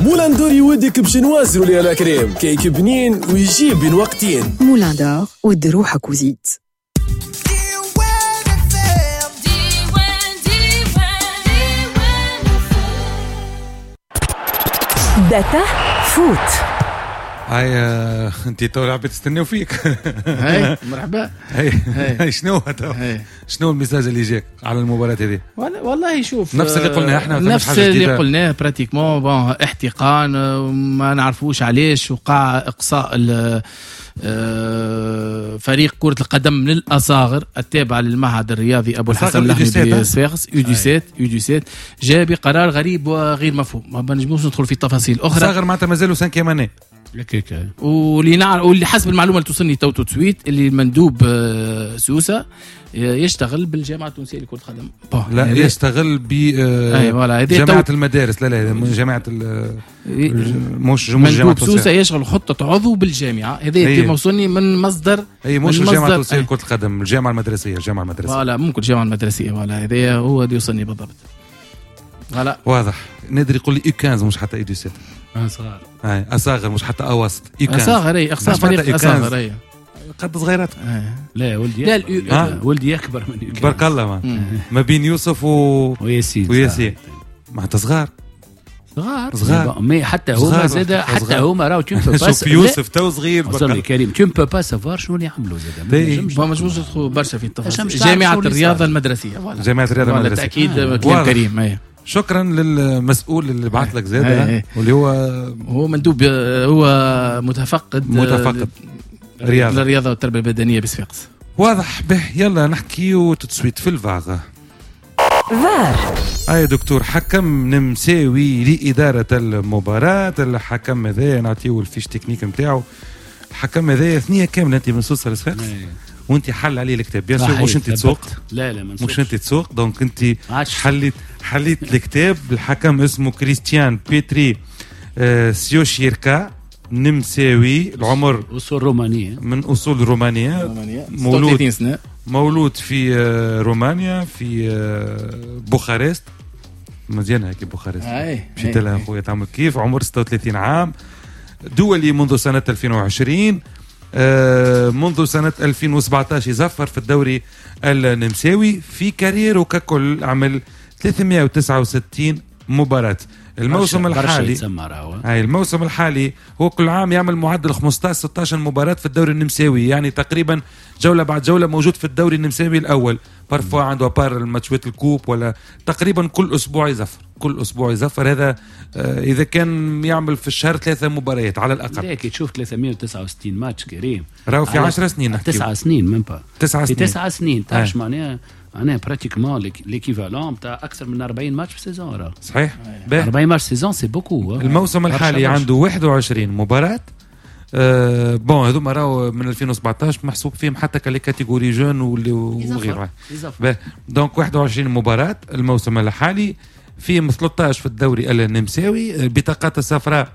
Moulin d'Or يودك ب génoise roulée à la crème، كيك بنين ويجيب بين وقتين. Moulin d'Or، ود روحك وزيد. data foot. هاي انت تو العباد تستناو فيك. هاي مرحبا. هاي شنو شنو ال message اللي جاك على المباراة هذه؟ والله شوف، نفس اللي قلناه احنا، نفس اللي قلناه pratiquement. bon احتقان ما نعرفوش علاش وقع اقصاء فريق كرة القدم للأصاغر التابع للمعهد الرياضي أبو الحسن اللحمي بصفاقس U17 جاء بقرار غريب وغير مفهوم، ما نجموش ندخل في تفاصيل أخرى. أصاغر معناتها مازالوا 5 année. واللي نعرف واللي حسب المعلومة اللي توصلني tout de suite اللي المندوب سوسة يشتغل بالجامعة التونسية لكرة القدم. لا يشتغل ب جامعه المدارس. لا لا جامعه مش جامعه سوسة، يشغل خطه عضو بالجامعة. هذا موصلني من مصدر، اي مش الجامعة التونسية لكرة القدم، الجامعة المدرسية. الجامعة المدرسية voilà، ممكن الجامعة المدرسية voilà، هذا هو اللي يوصلني بالضبط. voilà واضح. نادر يقول لي U 15 مش حتى U 17. اصغر، اي اصغر مش حتى اوسط. U 15 اصغر، اي اقصى فريق اصغر، اي قد صغيرات. لا ولدي، لا ولدي اكبر مني بارك الله. ما بين يوسف وياسين. وياسين معناتها صغار صغار mais حتى هما زاد، حتى هما راهو tu peux pas. شوف يوسف تو صغير بارك كريم، tu peux pas savoir شنو اللي عملوا زاد. ما نجموش ندخلوا برشا في التفاصيل. جامعه الرياضة المدرسية، جامعه الرياضة المدرسية بالتاكيد. كلام كريم. شكرا للمسؤول اللي بعث لك زاد، واللي هو مندوب، هو متفقد رياضة الرياضة والتربية البدنية بصفاقس. واضح به. يلا نحكيو tout de suite في الفار. فار اي دكتور، حكم نمساوي لإدارة المباراة. الحكم هذا نعطيو ال fiche technique نتاعو. الحكم هذا ثنية كاملة انت من سوسة لصفاقس وانت حل عليه الكتاب. bien sûr مش انت تسوق. لا لا مش انت تسوق، donc انت حليت الكتاب. الحكم اسمه كريستيان بيتري سيوشيركا، نمساوي، العمر اصول رومانية، من اصول رومانية، مولود سنة، مولود في رومانيا في بوخارست. مزيانه هيك بوخارست، مشيت لها خويا تعمل كيف. عمر 36 عام، دولي منذ سنة 2020، منذ سنة 2017 يزفر في الدوري النمساوي. في carrière و ككل عمل 369 مباراة. الموسم الحالي، هاي الموسم الحالي هو كل عام يعمل معدل 15-16 مباراة في الدوري النمساوي، يعني تقريبا جولة بعد جولة موجود في الدوري النمساوي الأول. parfois عنده à part الماتشات ال coupe، ولا تقريبا كل أسبوع يزفر، كل أسبوع يزفر. هذا إذا كان يعمل في الشهر 3 مباريات على الأقل. لكن تشوف 369 ماتش كريم، راهو في 10 سنين، نحكي 9 سنين même pas 9 سنين، 9 سنين تعرف معناها pratiquement l'équivalent تاع اكثر من 40 ماتش في saison. راه صحيح 40 matchs saison c'est beaucoup. الموسم الحالي عنده 21 مباراة. bon هذوما راهو من 2017 محسوب فيهم حتى les catégories jeunes وغيرها. donc 21 مباراة الموسم الحالي، فيهم 13 في الدوري النمساوي. البطاقات الصفراء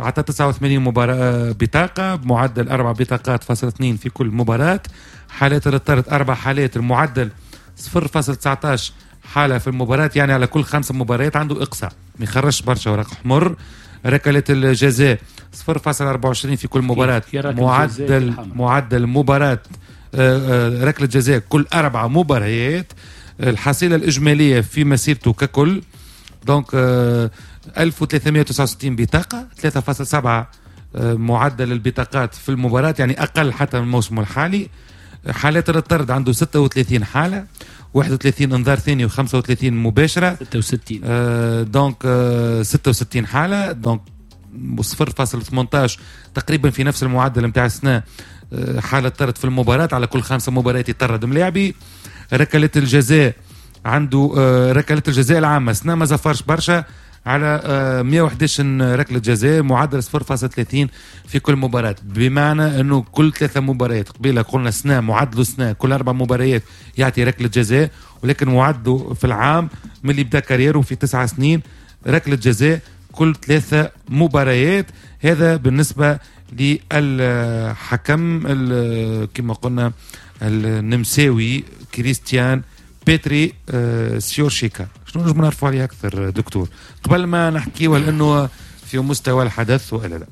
عطى 89 مباراة بطاقة بمعدل 4 بطاقات فاصل 2 في كل مباراة. حالات الطرد 4 حالات، المعدل 0.19 حالة في المباراة، يعني على كل 5 مباريات عنده إقصاء، ما يخرجش برشا ورق حمر. ركلات الجزاء 0.24 في كل مباراة، معدل مباراة ركلة جزاء كل 4 مباريات. الحصيلة الإجمالية في مسيرته ككل donc 1369 بطاقة، 3.7 معدل البطاقات في المباراة، يعني أقل حتى من الموسم الحالي. حالات الطرد عنده 36 حالة، 31 انذار ثاني و35 مباشرة، 66 donc 66 حالة، donc 0.18 تقريبا في نفس المعدل نتاع السنة. حالة طرد في المباراة على كل 5 مباريات يطرد ملاعبي. ركلات الجزاء عنده ركلات الجزاء العامة سنة ما زفرش برشا على 111 ركلة جزاء، معدل 0.30 في كل مباراة، بمعنى أنه كل 3 مباريات قبيلة قلنا سنة معدله سنة كل 4 مباريات يعطي ركلة جزاء، ولكن معدله في العام من اللي بدأ carrière و في 9 سنين ركلة جزاء كل 3 مباريات. هذا بالنسبة للحكم كما قلنا النمساوي كريستيان بيتري سيورشيكا. شنو نجم نعرفوا عليه أكثر دكتور قبل ما نحكيه، لأنه في مستوى الحدث والا لا؟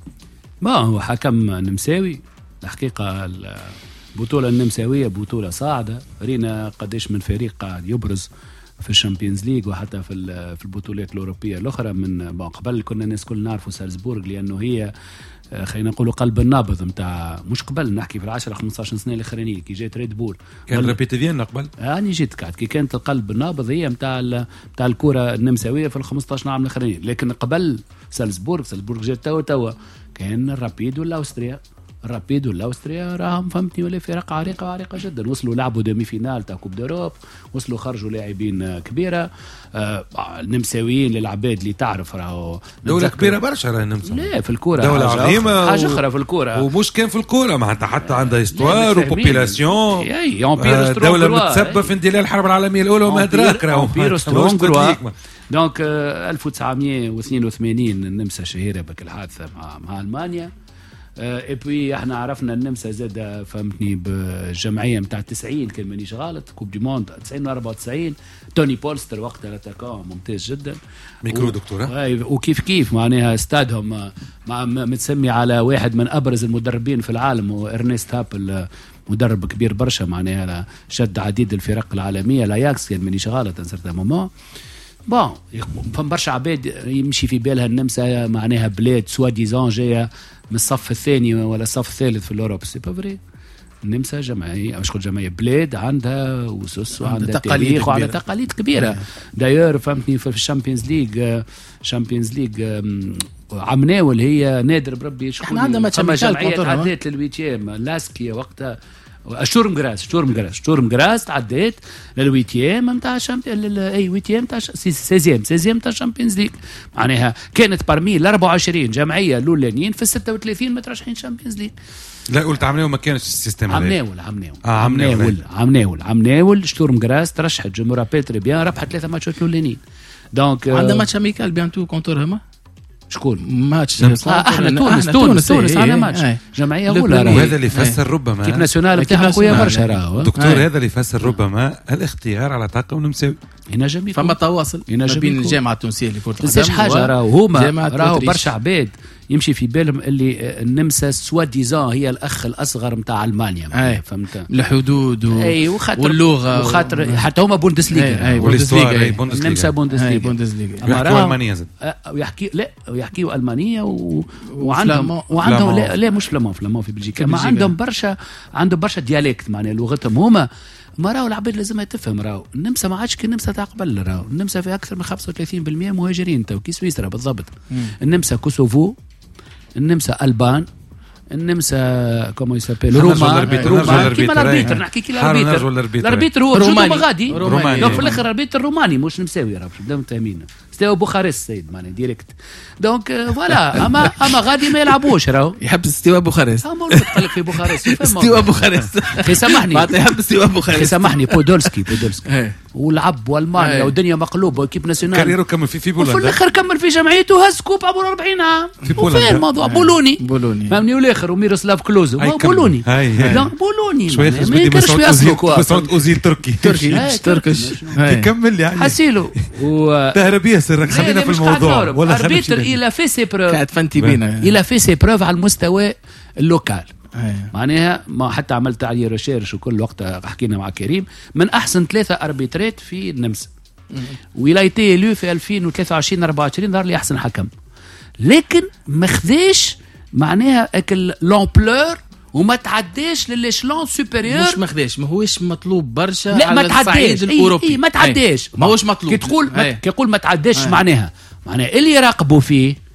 ما هو حكم نمساوي الحقيقة. البطولة النمساويه بطوله صاعده، رينا قداش من فريق قاعد يبرز في ال Champions League وحتى في البطولات الاوروبية الاخرى. من قبل كنا الناس كل نعرفوا سالزبورغ لانه هي خلينا نقولوا قلب النابض نتاع، مش قبل نحكي في 10 15 سنة الاخرانية كي جات ريد بول كان رابيد فيينا قبل يعني جيت قاعد كي كانت القلب النابض هي نتاع الكره النمساويه في ال 15 عام الاخرانيين. لكن قبل سالزبورغ جات توا كان الرابيد والاوستريا، الرابيد والاوستريا راهم فهمتني ولا فرق عريقة وعريقه جدا، وصلوا لعبوا demi-finale تاع Coupe d'Europe، وصلوا خرجوا لاعبين كبيرة. النمساويين للعباد اللي تعرف راهو دولة كبيرة برشا، راهي النمسا لا في الكورة دولة عظيمة، حاجة اخرى في الكورة، ومش كان في الكورة معناتها حتى عندها histoire و population، دولة متسببه في اندلاع الحرب العالمية الاولى وما ادراك، راهو empire austro-hongrois. donc 1982 النمسا شهيرة بك الحادثة مع المانيا. et puis احنا عرفنا النمسا زاد فهمتني بالجمعيه نتاع 90 كان مانيش غلط، Coupe du monde 90 94 توني بولستر وقتها l'attaquant ممتاز جدا ميكرو دكتورة. وكيف كيف معناها استادهم متسمي على واحد من ابرز المدربين في العالم، وارنست هابل مدرب كبير برشا معناها شد عديد الفرق العالمية، لاياكس كان مانيش غلط un certain moment. bon فما برشا عباد يمشي في بالها النمسا معناها بلاد soi-disant جاية من الصف الثاني ولا الصف الثالث في l'Europe، c'est pas vrai. النمسا جمعية مش كل جمعية، بلاد عندها اسس وعندها تاريخ وعندها تقاليد كبيرة. d'ailleurs فهمتني في ال Champions League، Champions League عمناول هي نادر بربي شكون احنا عندنا ماتش جمعية تعدات لل huitième لاسكي وقتها شتورم غراس، شتورم غراس تعديت لل huitième نتاع اي huitième تاع seizième تاع Champions League، معناها كانت parmi ال 24 جمعية الاولانيين في 36 مترشحين Champions League. لا قلت عمناول ما كانش ال système هذا. عمناول شتورم غراس ترشحت je me rappelle très bien، ربحت 3 ماتشات الاولانيين. donc عندنا match amical bientôt contre هما شكون ماتش؟ احنا تونس عندنا ماتش جمعية اولى، وهذا اللي يفسر ربما équipe nationale بتاعها قوية برشا راهو دكتور. هذا اللي يفسر ربما الاختيار على طاقم نمساوي، ينجم يكون فما تواصل ما بين الجامعة التونسية لكرة القدم. حاجة راهو هما راهو برشا عباد يمشي في بالهم اللي النمسا soi-disant هي الاخ الاصغر نتاع المانيا، فهمت الحدود واللغة وخاطر حتى هما بوندسليغا، النمسا بوندسليغا، يحكوا المانية زاد، ويحكي لا ويحكيوا المانية وعندهم لا مش flamand في بلجيكا، ما عندهم برشا، عندهم برشا dialectes معناها لغتهم هما. ما راهو العباد لازم تفهم راهو النمسا ما عادش كي النمسا تاع قبل، راهو النمسا في اكثر من 35% مهاجرين تو كي سويسرا بالضبط. النمسا كوسوفو، النمسا البان، النمسا comment il s'appelle روما كيما l'arbitre، نحكي كي l'arbitre، l'arbitre هو روماني غادي، donc في الاخر l'arbitre روماني مش نمساوي، راه باش نبداو متفاهمين. ستيو بوخارست سيد معناها direct. donc voilà اما غادي ما يلعبوش راهو يحب ستيوا بوخارست، قال لك في بوخارست ستيوا بوخارست اخي سامحني، يحب ستيوا بوخارست سامحني بودولسكي ولعب والمانيا والدنيا مقلوبة و équipe nationale carrière كمل في بولندا، وفي الاخر كمل في جمعيته هز coupe عمره 40 عام في بولندا. الموضوع بولوني فهمني، والاخر وميروسلاف كلوزو بولوني، بولوني ما ينكرش في اصله مسعود اوزيل تركي Turkish كمل يعني حسيلو تهرب ياسر. خلينا في الموضوع ولا arbitre il a fait ses preuves قاعد فانتي بينا، il a fait ses preuves على المستوى ال local معناها ما حتى عملت عليه recherche وكل وقت حكينا مع كريم من احسن 3 اربيترات في النمسا، و il a été élu في 2023 24 ظهر لي احسن حكم، لكن ما خذاش معناها اكل l'ampleur وما تعداش لل échelon supérieur. مش ما خذاش، ما هوش مطلوب برشا على الصعيد الاوروبي. إيه ما تعداش، ما هوش مطلوب. كي تقول كي تقول ما تعداش معناها اللي يراقبوا فيه